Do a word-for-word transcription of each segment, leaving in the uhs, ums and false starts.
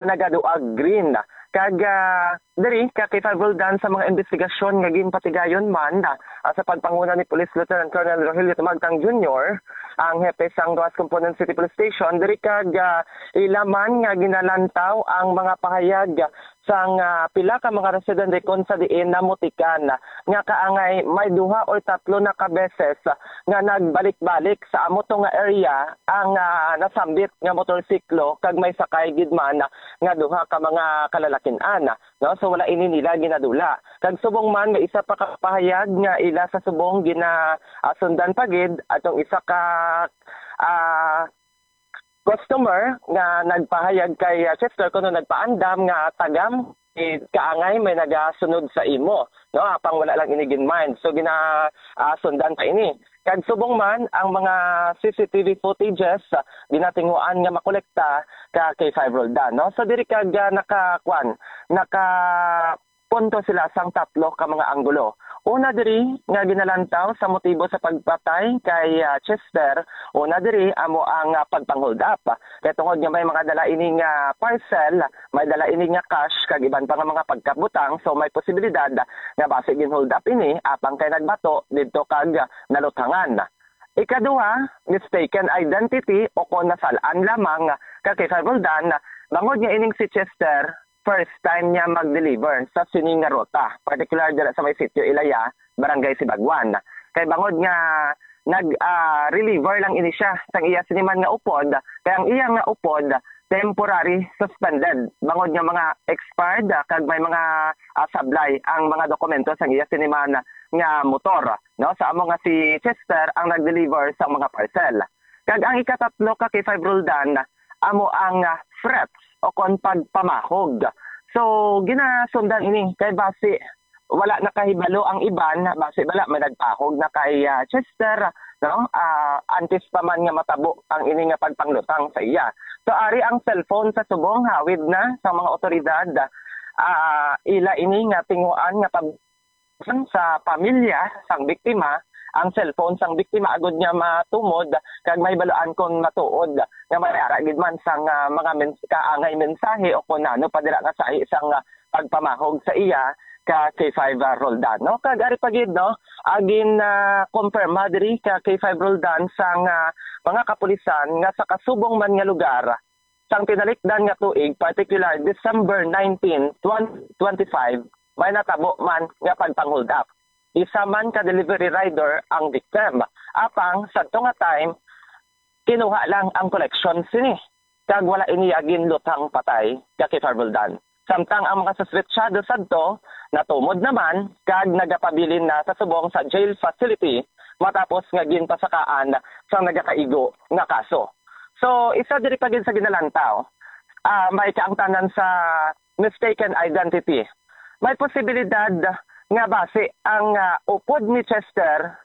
nagaduag green. Kag, ah, diri ka kay Five Roldan sa mga investigasyon nga ginpatigayon man, ah, sa pagpanguna ni Police Lieutenant Colonel Rogelio Tumagtang Junior, ang hepe sang Roxas Component City Police Station, diri kag, ah, ila man nga ginalantaw ang mga pahayag sang, ah, pila ka mga residente kon sa diin namutikan nga kaangay may duha or tatlo na ka beses nga nagbalik-balik sa amo to nga area ang, ah, nasambit nga motorsiklo kag may sakay gid man nga duha ka mga kalalakin-an, no? So, wala ini nila ginadula. Kag subong man, may isa pa ka pahayag nga ila sa subong gina, ah, sundan pa gid atong isa ka, ah, customer nga nagpahayag kay, ah, Chester kuno nagpaandam nga tagam, eh, kaangay may nagasunod sa imo, no? Apang wala lang ini gin-mind. So, gina, ah, sundan pa ini. Kag subong man ang mga C C T V footages, ah, ginatinguan nga makolekta ka kay Five Roldan, no? So, diri kag, ah, naka, kwan, naka punto sila sang tatlo ka mga anggulo. Una diri nga ginalantaw sa motibo sa pagpatay kay, ah, Chester, una diri amo ang, ah, pagpang-hold up. Kay tungod nga may mga dala ini nga parcel, may dala ini nga cash kag iban pa nga mga pagkabutang, so may posibilidad nga basi gin-hold up ini apang kay nagbato didto kag naluthangan. Ikaduha, mistaken identity o kon nasal-an lamang ka kay Five Roldan, bangod nga ining si Chester first time niya mag-deliver sa sini nga ruta, particular dira sa may sitio Ilaya, Barangay Sibagwan. Kay bangod nga nag, ah, reliver lang ini siya sang iya sini man nga upod, kay ang iya nga upod temporary suspended bangod nga mga expired, ah, kag may mga, ah, sablay ang mga dokumento sang iya sini man nga motor, no? Sa amo nga si Chester ang nag-deliver sa mga parcel. Kag ang ikatatlo ka kay Five Roldan, amo ang, ah, threats o kon pagpamahog. So, ginasundan ini kay basi wala nakahibalo ang iban, basi bala may nagpahog na kay, ah, Chester, no? Ah, antes pa man nga matabo ang ini nga pagpanglutang sa iya. So, ari ang cellphone sa subong hawid na sa mga otoridad. Ah, ila ini nga tinguan nga pag sa pamilya sang biktima ang cellphone sang biktima agud nga matumod kag mahibaluan kon matuod nga may ara gid man sang, ah, mga mens-, kaangay mensahe o kon ano pa dira nga sahi sang, ah, pagpamahog sa iya ka K five, ah, Roldan, no? Kag ari pa gid, no, agin, ah, kumpirma diri ka K five Roldan sang, ah, mga kapulisan nga sa kasubong man nga lugar, sang tinalikdan nga tuig, particular December nineteen, twenty twenty-five, may natabo man nga pagpang-hold up. Isa man ka delivery rider ang victim. Apang sadto nga time, kinuha lang ang collection sini, kag wala ini ginluthang patay ka kay Five Roldan. Samtang ang mga suspetsado sadto natumod naman kag nagapabilin na sa subong sa jail facility matapos nga ginpasakaan sang nagakaigo nga kaso. So, isa diri pa gid sa ginalantaw, ah, may kaangtanan sa mistaken identity. May posibilidad nga basi ang, ah, upod ni Chester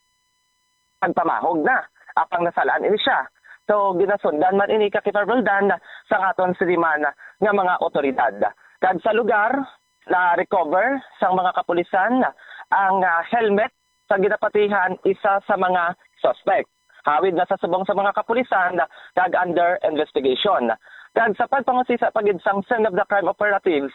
nagpamahog na, apang nasalaan ini siya. So, ginasundan man ini ka Kay Five Roldan sang aton siliman nga mga otoridad. Kag sa lugar, na-recover sang mga kapulisan ang, ah, helmet sa ginapatihan isa sa mga suspect. Hawid na sa subong sa mga kapulisan kag under investigation. Kag sa pagpangusisa pa gid sang scene of the crime operatives,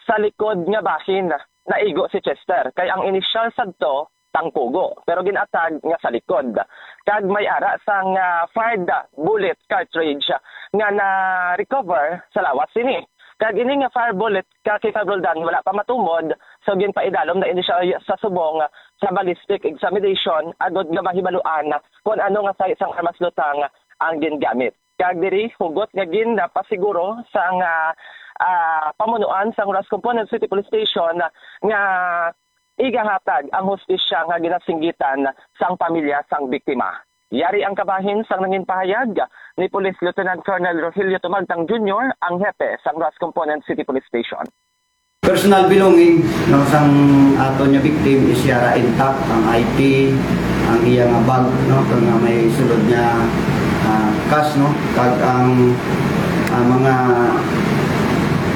sa likod nga bahin naigo si Chester, kay ang inisyal sadto tangkugo, pero gin-atag nga sa likod. Kag may ara sang, ah, fired bullet cartridge nga na-recover sa lawas sini. Kag ini nga fire bullet ka Kay Five Roldan wala pa matumod, so ginpaidalom na ini siya sa subong sa ballistic examination agod nga mahibaluan kon ano nga sahi sang armas lutang ang gingamit. Kag diri, hugot nga ginpasiguro sang, ah, ah, pamunuan sang Roxas Component City Police Station nga igahatag ang hustisya nga ginasinggitan sang pamilya sang biktima. Yari ang kabahin sang nangin pahayag ni Police Lieutenant Colonel Rogelio Tumagtang Junior, ang hepe sang Roxas Component City Police Station. Personal belonging, no, sang aton nga victim is yara intact, ang I T, ang iya nga bag, no, kag nga may sulod nga, ah, cash, no, kag ang, ah, mga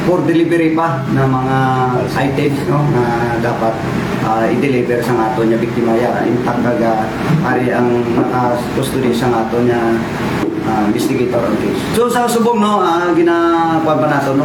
for delivery pa na mga items, no, nga dapat, ah, i-deliver sang aton nga biktima, yara intact kag, ah, ari ang naka-custody sang aton nga ah, investigator ang case. So, sa subong, no, ah, gina-, kuwan pa nato, no,